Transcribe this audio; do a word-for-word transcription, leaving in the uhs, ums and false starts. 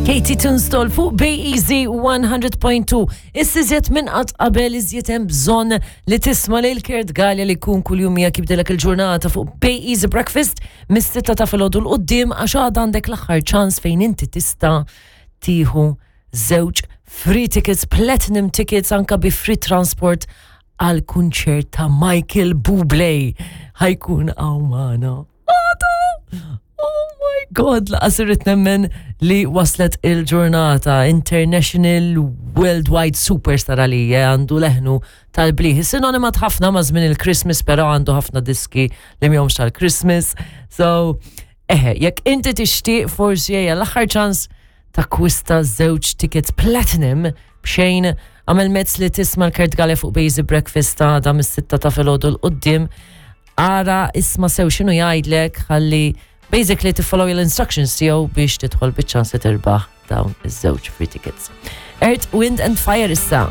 Katie Tunstall fuq Bay Easy one hundred point two. Issa iżjed minn qatt qabel, iżjed hemm bżonn li tisma' lil Kurt Galea li jkun kuljum miegħek jibdilek il-ġurnata fuq Bay Easy Breakfast mis-sitta ta' filgħodu 'l quddiem, għax għadha għandek l-aħħar ċans fejn inti tista' tieħu żewġ free tickets, platinum tickets, anka bi free transport għal kunċert ta' Michael Bublé. Ħa jkun hawn magħna għada! Oh my God, lanqas irrid nemmen li waslet il-ġurnata. International Worldwide Superstar għalija, għandu leħnu tal-bliħ. Sinonima ħafna ma' żmien il-Christmas, pero għandu ħafna diski li mhumiex tal-Christmas. So, eħe, jekk inti tixtieq, forsi hija l-aħħar ċans takkwista żewġ tickets platinum b'xejn, għamel mezz li tisma' 'l Kurt Galea fuq Basic Breakfast ta' da mis-sitta ta' filgħodu 'l quddiem. Ara, isma' sew x'inhu jgħidlek ħalli basically tiffollow l-instructions tiegħu biex tidħol biċ-ċans li tirbaħ dawn iż-żewġ free tickets. Earth, Wind and Fire issa.